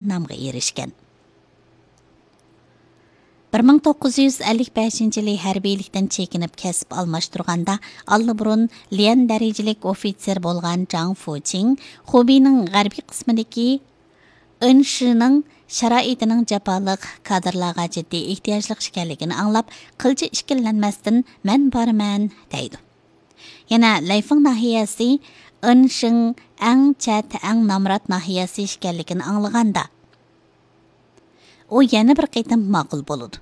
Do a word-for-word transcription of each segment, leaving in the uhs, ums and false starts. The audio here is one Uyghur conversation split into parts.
نامغا ئېرىشكەن. بىر مىڭ توققۇز يۈز ئەللىك بەشىنچى يىلى ھەربىيلىكتىن چېكىنىپ كەسىپ ئالماشتۇرغاندا، ئاللىبۇرۇن ليەن دەرىجىلىك ئوفىتسېر بولغان جاڭ فۇچىڭ خۇبېينىڭ غەربىي قىسمىدىكى ئېنشىنىڭ شارائىتىنىڭ جاپالىق، كادىرلارغا جىددىي ئېھتىياجلىق ئىكەنلىكىنى ئاڭلاپ، قىلچە ئىككىلەنمەستىن، «مەن بارىمەن» دەيدۇ. يەنە لەيفېڭ ناھىيەسى ئېنشىڭ ئەڭ چەت، ئەڭ نامرات ناھىيەسى ئىكەنلىكىنى ئاڭلىغاندا، ئۇ يەنە بىر قېتىم ماقۇل بولىدۇ.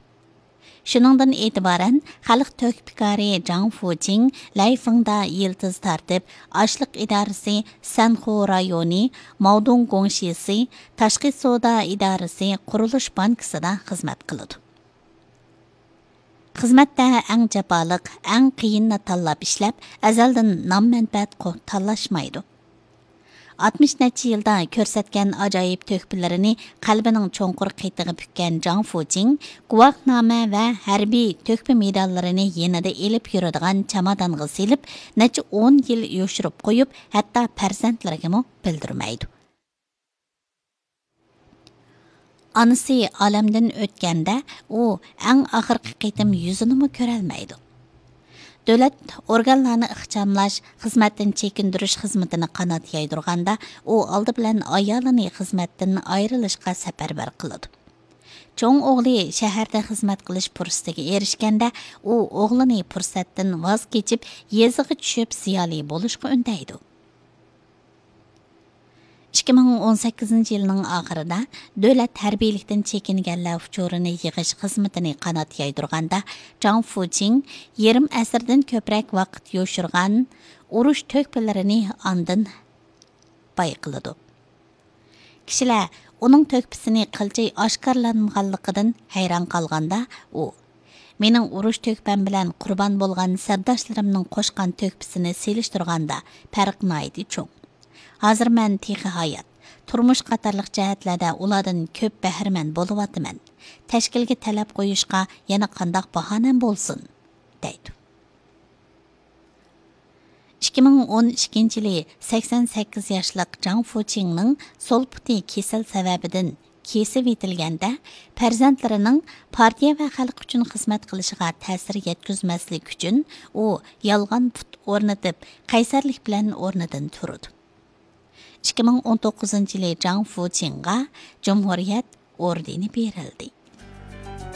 شۇنىڭدىن ئېتىبارەن، خەلق تۆھپىكارى جاڭ فۇچىڭ لەيفېڭدا يىلتىز تارتىپ، ئاشلىق ئىدارىسى سەنخۇ رايونى، ماۋدۇڭ گۇڭشىسى، تاشقى سودا ئىدارىسى، قۇرۇلۇش بانكىسىدا خىزمەت قىلىدۇ. خىزمەتتە ئەڭ جاپالىق، ئەڭ قىيىننى تاللاپ ئىشلەپ، ئەزەلدىن نام-مەنپەئەت قو-، تاللاشمايدۇ. ئاتمىش نەچچە يىلدا كۆرسەتكەن ئاجايىپ تۆھپىلىرىنى قەلبىنىڭ چوڭقۇر قېتىغا پۈككەن جاڭ فۇچىڭ گۇۋاھنامە ۋە ھەربىي تۆھپە مېداللىرىنى يېنىدا ئېلىپ يۈرىدىغان چامادانغا سېلىپ، نەچچە ئون يىل يوشۇرۇپ قويۇپ، ھەتتا پەرزەنتلىرىگىمۇ بىلدۈرمەيدۇ. ئانىسى ئالەمدىن ئۆتكەندە، ئۇ ئەڭ ئاخىرقى قېتىم يۈزىنىمۇ كۆرەلمەيدۇ. دۆلەت ئورگانلارنى ئىخچاملاش، خىزمەتتىن چېكىندۈرۈش خىزمىتىنى قانات يايدۇرغاندا، ئۇ ئالدى بىلەن ئايالىنى خىزمەتتىن ئايرىلىشقا سەپەرۋەر قىلىدۇ. چوڭ ئوغلى شەھەردە خىزمەت قىلىش پۇرسىتىگە ئېرىشكەندە، ئۇ ئوغلىنى پۇرسەتتىن ۋاز كېچىپ، يېزىغا چۈشۈپ زىيالىي بولۇشقا ئۈندەيدۇ. ئىككى مىڭ ئون سەككىزىنچى يىلنىڭ ئاخىرىدا دۆلەت ھەربىيلىكتىن چېكىنگەنلەر ئۇچۇرىنى يىغىش خىزمىتىنى قانات يايدۇرغاندا، جاڭ فۇچىڭ يېرىم ئەسىردىن كۆپرەك ۋاقىت يوشۇرغان ئۇرۇش تۆھپىلىرىنى ئاندىن بايقىلىدۇ. كىشىلەر ئۇنىڭ تۆھپىسىنى قىلچە ئاشكارىلانمىغانلىقىدىن ھەيران قالغاندا، ئۇ، «مېنىڭ ئۇرۇش تۆھپەم بىلەن قۇربان بولغان سەپداشلىرىمنىڭ قوشقان تۆھپىسىنى سېلىشتۇرغاندا، پەرق ناھايىتى چوڭ. ھازىر مەن تېخى ھايات، تۇرمۇش قاتارلىق جەھەتلەردە ئۇلاردىن كۆپ بەھرىمەن بولۇۋاتىمەن. تەشكىلگە تەلەپ قويۇشقا يەنە قانداق باھانەم بولسۇن؟» دەيدۇ. ئىككى مىڭ ئون ئىككىنچى يىلى سەكسەن سەككىز ياشلىق جاڭ فۇچىڭنىڭ سول پۇتى كېسەل سەۋەبىدىن كېسىۋېتىلگەندە، پەرزەنتلىرىنىڭ پارتىيە ۋە خەلق ئۈچۈن خىزمەت قىلىشىغا تەسىر يەتكۈزمەسلىك ئۈچۈن، ئۇ يالغان پۇت ئورنىتىپ، قەيسەرلىك بىلەن ئورنىدىن تۇرىدۇ. ئىككى مىڭ ئون توققۇزىنچى يىلى جاڭ فۇچىڭغا جۇمھۇرىيەت ئوردېنى بېرىلدى.